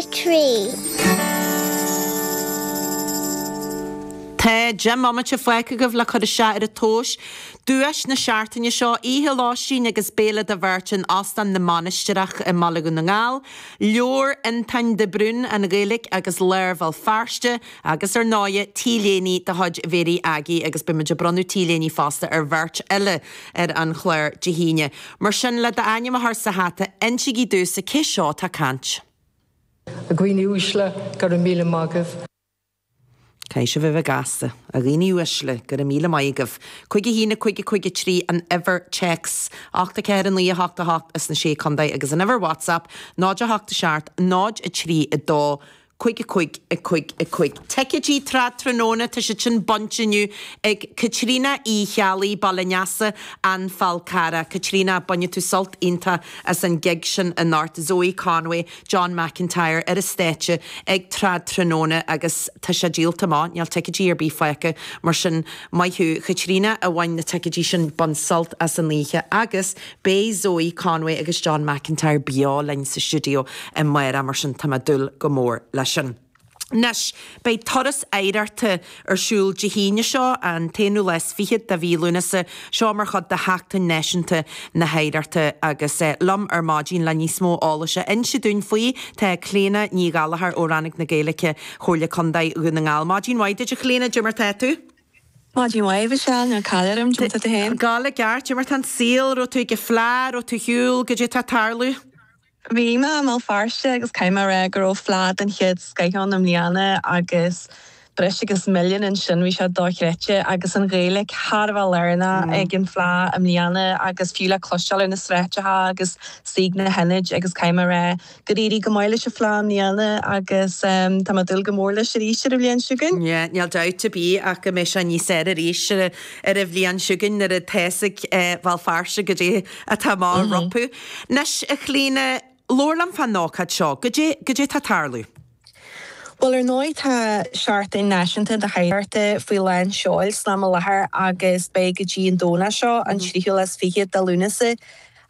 3. Tá 10 mbomaite fágtha agaibh le cur isteach ar an tomhas. Duais na seachtaine seo, oíche lóistín agus béile do bheirt in Óstán na Mainistreach i mBaile Dhún na nGall, leabhar Fhionntáin de Brún, An Ghaeilge agus Lár Bhéal Feirste, agus ar ndóighe, T-léine de chuid Mhéirí Aggie agus beidh muid ag bronnadh T-léiní fosta ar bheirt eile ar an chlár Dé hAoine. Mar sin, le d'ainm a chur sa hata, insígí domhsa cé seo atá ag caint. A dhaoine uaisle, go raibh míle maith agaibh. Caithfidh sibh a bheith gasta. A dhaoine uaisle, go raibh míle maith agaibh. 5 1 5 5 3 an uimhir téacs, 8 4 9 8 8 as na Sé Contae agus an uimhir WhatsApp 0 8 7 0 3 2 5 5 5 5. Ticéidí Trad Tráthnóna, tá siad sin bainte inniu ag Caitríona Uí Cheallaigh, Baile an Easa, An Fál Carrach. Caitríona, bainfidh tú sult iontach as an gig sin anocht. Zoe Conway, John McIntyre ar an stáitse ag Trad Tráthnóna agus tá sé díolta amach, níl ticéidí ar bith fágtha, mar sin maith thú Chaitríona a bhain na ticéidí sin, bain sult as an oíche agus beidh Zoe Conway agus John McIntyre beo linn sa stiúideo amárach mar sin tá mé ag dúil go mór leis sin. Anois, beidh turas oidhreachta ar siúl Dé hAoine seo, an t-aonú lá is fichead de mhí Lúnasa, seo mar chuid de Sheachtain Náisiúnta na hOidhreachta agus liom ar maidin le níos mó eolais a inse dúinn faoi tá Clíona Ní Ghallchóir ó Rannóg na Gaeilge, Chomhairle Contae Dhún na nGall. Maidin mhaith duit a Chlíona, cad é mar tá tú? Maidin mhaith, Michelle, níl caill orm, cad é mar tá tú féin? Gabháil i gceart, cad é mar tá an saol, raibh tú ag an Fleadh, raibh tú ar shiúl, cad é atá ag tarlú? Bhí mé i mBéal Feirste agus caithfidh mé a rá go raibh fleá den chéad scoith ann i mbliana agus breis agus milliún ansin, bhí sé dochreidte agus an Ghaeilge thar a bheith lárnach ag an bhFleá i mbliana agus fiú le cloisteáil ar na sráideacha agus istigh sna hionaid agus caithfidh mé a rá gur éirigh go maith leis an Fleá i mbliana agus tá mé ag dúil go mór leis arís ar an bhliain seo chugainn. Yeah, níl dabht ar bith ach go mbeidh sé níos fearr arís ar an bhliain seo chugainn nuair atá a fhios ag Béal Feirste goidé atá amach rompu. Anois, a Chlíona, labhair liom fán ócáid seo. Goidé, goidé tá ag tarlú? Bhuel, ar ndóigh, tá Seachtain Náisiúnta na hOidhreachta faoi lán seoil san am i láthair agus beidh go dtí an Domhnach seo, an tríú lá is fiche de Lúnasa.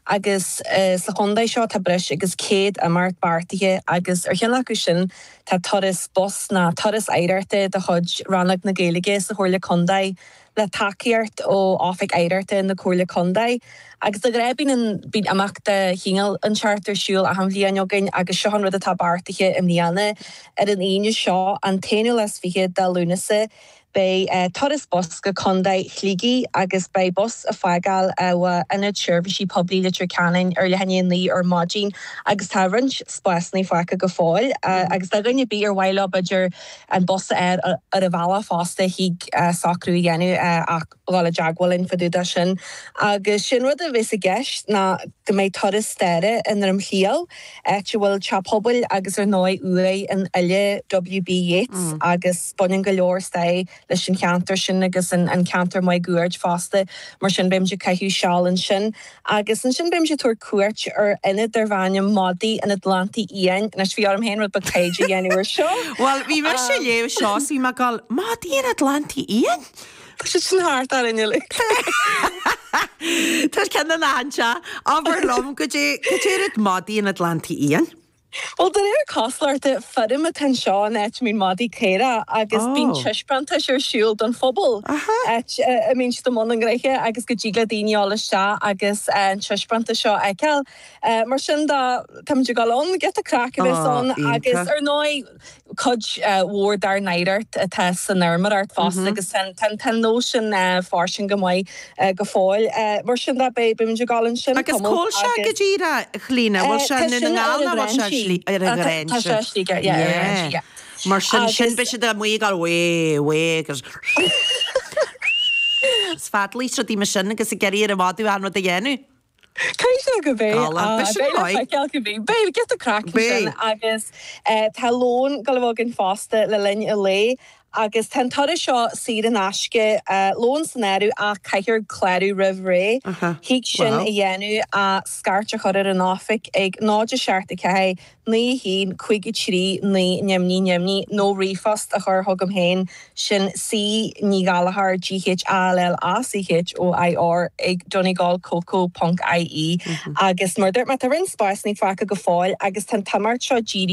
Agus sa chontae seo tá breis agus 100 imeacht beartaithe agus ar cheann acu sin tá turas bus nó turas oidhreachta de chuid Rannóg na Gaeilge sa Chomhairle Contae. le tacaíocht ó Oifig Oidhreachta na Comhairle Contae. Agus de ghnáth bíonn an bíonn imeacht de chineál inteacht ar siúl achan bhliain againn agus seo an rud atá beartaithe i mbliana. Ar an Aoine seo, an t-aonú lá is fiche de Lúnasa, beidh turas bus go Contae Shligigh agus beidh bus ag fágáil ó Ionad Seirbhísí Poiblí Leitir Ceanainn ar leath i ndiaidh a 9 ar maidin agus tá roinnt spásanna fágtha go fóill agus do dhuine ar bith ar mhaith leo b'fhéidir an bus a fháil ar an bhealach fosta thig socrú a dhéanamh ach dhul i dteagmháil linn fá dtaobh de sin. Agus sé an rud a bheas i gceist ná go mbeidh turas staire i nDroim Chliabh, áit a bhfuil teach pobail agus ar ndóigh uaigh an fhile W.B. Yeats agus baineann go leor stair leis an cheantar sin agus an ceantar máguaird fosta. Mar sin beimid ag caitheamh seal ansin. Agus ansin beimid ag tabhairt cuairt ar ionad darb ainm Madaí an Atlantaigh Fhiáin. Anois bhí orm féin rud beag taighde a dhéanamh ar seo. Bhuel, bhí mise ag léamh seo is bhí mé ag gabháil, Madaí an Atlantaigh Fhiáin? Tá siad sin thart orainn uilig. Tá ceann ina theannta. Abair liom, goidé, goidé rud Madaí an Atlantaigh Fhiáin? Bhuel, de réir cosúlachta, feirm atá anseo in áit a mbíonn madaí caorach agus bíonn taispeántais ar siúl don phobal, áit a mbíonn siad i mbun a ngnoithe agus go dtig le daoine a dhul isteach agus an taispeántas seo a fheiceáil. Mar sin de, táimid ag dul ann, giota craic a bheas ann agus ar ndóigh, cuid mhór dár n-oidhreacht atá san fheirmeoireacht fosta agus tá an nós sin fairsing go maith go fóill. Mar sin de, beimid ag dul ansin Agus cá bhfuil sé go díreach, a Chlíona? Bhfuil sé i nDún na nGall nó bhfuil sé ar an Ghráinse? Tá sé i Sligeach, yeah, ar an Ghráinse, yeah. Mar sin, sin beidh siad amuigh ag dul way, way agus is fadalaí rudaí mar sin agus ag iarraidh ar an mhadadh an rud a dhéanamh. Caithfidh sé go mbeidh. Galánta. Beidh sin Beidh le maith. feiceáil go mbeidh. Beidh giota craic ansin Beidh. agus tá lón ag dul a bheith againn fosta le linn an lae agus tá an turas seo saor in aisce, lón san áireamh ach caithfear clárú roimh ré. Aha. Thig sin Wow. a dhéanamh ach scairt a chur ar an oifig ag 0 7 4 9 1 5 3 9 0 0 nó ríomhphost a chur chugam féin, sin C Ní Ghallchóir, G H A L L A C H O I R, ag donegalcoco ponc IE. Agus mar a dúirt mé, tá roinnt spásanna fágtha go fóill agus tá an t-imeacht seo dírithe.